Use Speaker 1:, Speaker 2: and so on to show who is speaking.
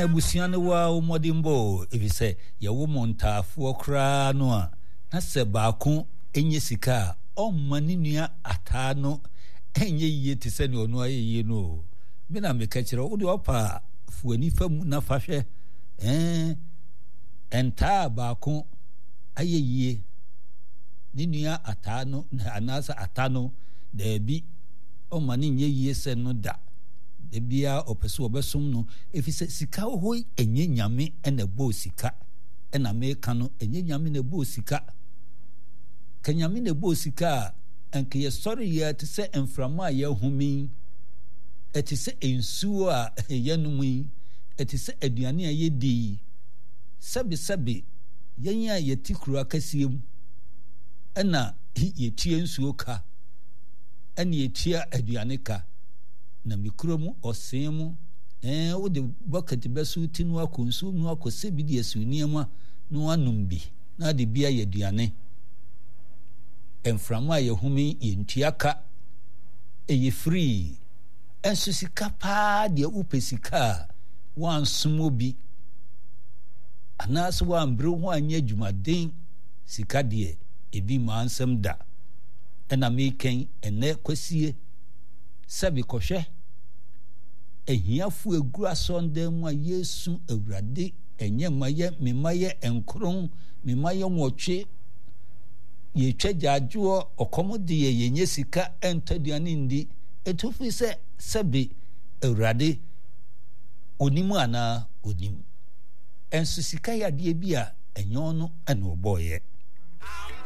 Speaker 1: Abusua no waa wo mmɔdenbɔ o, efisɛ yɛwo mo ntaafoɔ koraa no a, na sɛ baako nyɛ sika a, ɔmma ne nua ataa no nyɛ yie te sɛ nea ɔno ayɛ yie no o. Me na meka kyerɛ wo, wo deɛ ɔpa a, fa w'ani fa mu na fa hwɛ. Ɛɛ, ntaa a baako ayɛ yie, ne nua ataa no anaasɛ ata no, daabi, ɔmma no nyɛ yie sɛ no da. Da biara ɔpɛ sɛ ɔbɛsom no, efisɛ sika wɔ hɔ yi, ɛnyɛ Nyame na ɛbɔɔ sika. Ɛna meka no, ɛnyɛ Nyame na ɛbɔɔ sika. Ka Nyame na ɛbɔɔ sika a, anka yɛsɔre yɛ te sɛ mframa a yɛhome yi, ɛte sɛ nsuo a yɛnom yi, ɛte sɛ aduane a yɛdi yi. Sɛbesɛbe, yɛn a yɛte kuro akɛseɛ mu, ɛna yɛtua nsuo ka, ɛna yɛtua aduane ka. Na me kuro mu ɔsee mu, ɛɛ wode bucket bɛso ti no akɔ nsuo mu akɔsɛ bi de asi nneɛma na wanom bi na ade bi ayɛ aduane. Mframa a yɛhome yɛntua ka, ɛyɛ free. Ɛnso sika paa deɛ wopɛ sika a woansom obi anaasɛ woammere ho anyɛ adwumaden sika deɛ ebi mmaa nsɛm da. Ɛna mekɛn ɛnɛ kwasie sɛ mekɔhwɛ ahiafo egu asɔndan mu a yɛresu Awurade ɛnyɛ mma yɛ me mma yɛ nkron me mma yɛ nwɔtwe yɛtwa gyaadwoɔ ɔkɔm de yɛ yɛnyɛ sika ɛntɔ aduane ndi ɛtu firi sɛ sɛbe Awurade onim anaa onim ɛnso sika yɛ adeɛ bi a ɛnyɛ ɔno ɛna ɔbɔɔyɛ.